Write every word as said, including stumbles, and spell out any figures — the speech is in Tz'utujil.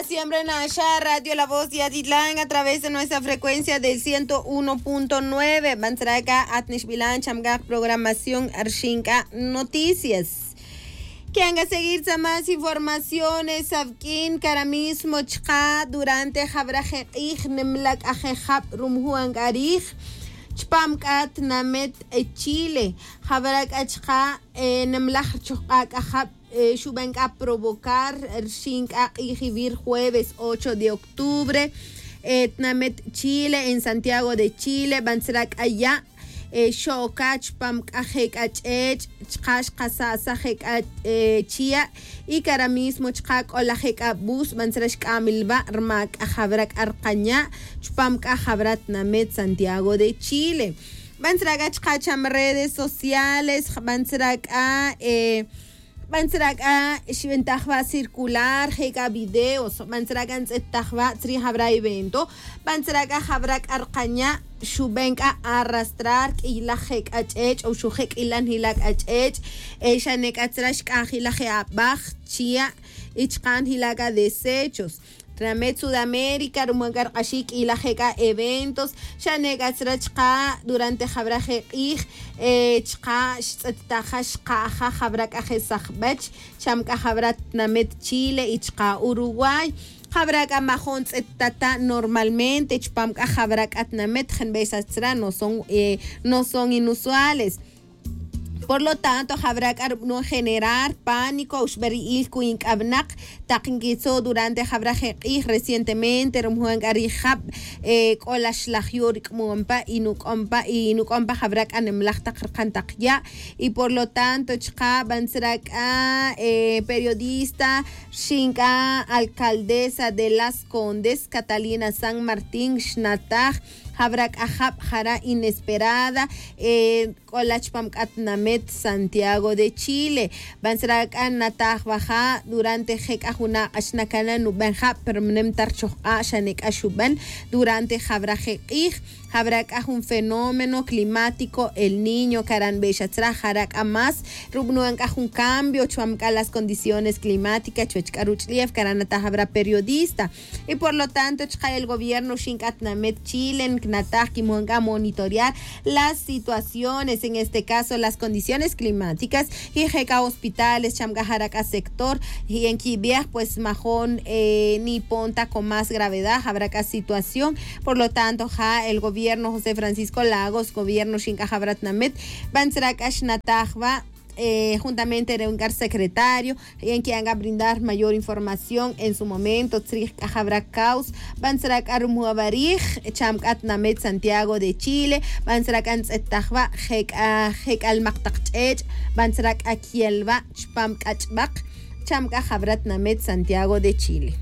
Siempre naxa radio la voz yatitlán a través de nuestra frecuencia del ciento uno punto nueve bantzraca atnixbilan chamgaj programación arxinc'a noticias. Que'an ca seguir tza más informaciones avq'uin cara mismo chka durante jabraj je k'ij nemlac'aj je jab rumjuan c'a rij chpam c'a tnamet chile. Jabra c'a chka nemlaj rchojk'a c'a jab xuben c'a provocar rxin c'a k'ij ivir jueves ocho de octubre. Tnamet chile en santiago de chile bantzra c'a ya' xo'oca chpam c'a je c'a ch'ech' chka xkasa'saj je c'a chia'. Y cara mismo chka c'o laj je c'a bus bantzra xc'amilba' rma c'a jabra c'a rkanya' chpam c'a jabra tnamet santiago de chile. Bantzra c'a chka cham redes sociales bantzra c'a bantzra c'a xbentajba' circular je c'a videos bantzra c'a ntz'ettajba' tzri jabra evento. Bantzra c'a jabra c'a rkanya' xuben c'a arrastrar q'uilaj je c'a ch'ech' o xuji' q'uilaj njila' c'a ch'ech'. Xane c'a tzra xc'ajilaj je abaj chia' y chka' njila' c'a desechos. Tnamet sudamérica ruman c'a rk'axic q'uilaj je c'a eventos xane c'a tzra chka' durante jabra je k'ij chka' xtz'ettaja xka'aja jabra c'a je sajbech cham c'a jabra tnamet chile y chka' uruguay. Jabra c'a majon tz'ettata' normalmente chpam c'a jabra c'a tnamet jenbey xa tzra no son inusuales. Por lo tanto jabra c'a rub'nun generar pánico uxb'er ri'il cuy nc'ab'naq tak nquitzo' durante jabra je k'ij recientemente rumjuan c'a rijab c'o la xlaj yu' ric'mon pa y nuc'on pa y nuc'on pa jabra c'a nemlaj tak rkan tak ya'. Y por lo tanto chka' bantzra c'a periodista rxin c'a alcaldesa de las condes catalina san martín xnataj jabra c'a jab jara' inesperada c'o la chpam c'a tnamet santiago de chile. Bantzra c'a nataj baja' durante je c'a juna' k'ax nacana' nuben jab pero mnem ta rchojk'a' xane c'a xuben durante jabra je k'ij. Jabra c'a jun fenómeno climático el niño caranbe xa tzra jara c'a más rub'nuan c'a jun cambio chpam c'a las condiciones climáticas chuwech c'a ruch'lef caranataj jabra periodista. Y por lo tanto chka' el gobierno xin c'a tnamet chile ncnataj quimon c'a monitorear las situaciones en este caso las condiciones climáticas. Y je c'a hospitales cham c'a jara c'a sector y en quibej pues majon nipon ta con más gravedad jabra c'a situación. Por lo tanto ja el gobierno josé francisco lagos gobierno xin c'a jabra tnamet bantzra c'a xnataj ba juntamente re un c'a rsecretario. Y en que han c'a brindar mayor información en su momento tzrij c'a jabra caus bantzra c'a rumuba rij cham c'a tnamet santiago de chile. Bantzra c'a ntz'ettaj ba je c'a je c'a lmak tak ch'ech' bantzra c'a quiel ba chpam c'a ch'bak cham c'a jabra tnamet santiago de chile.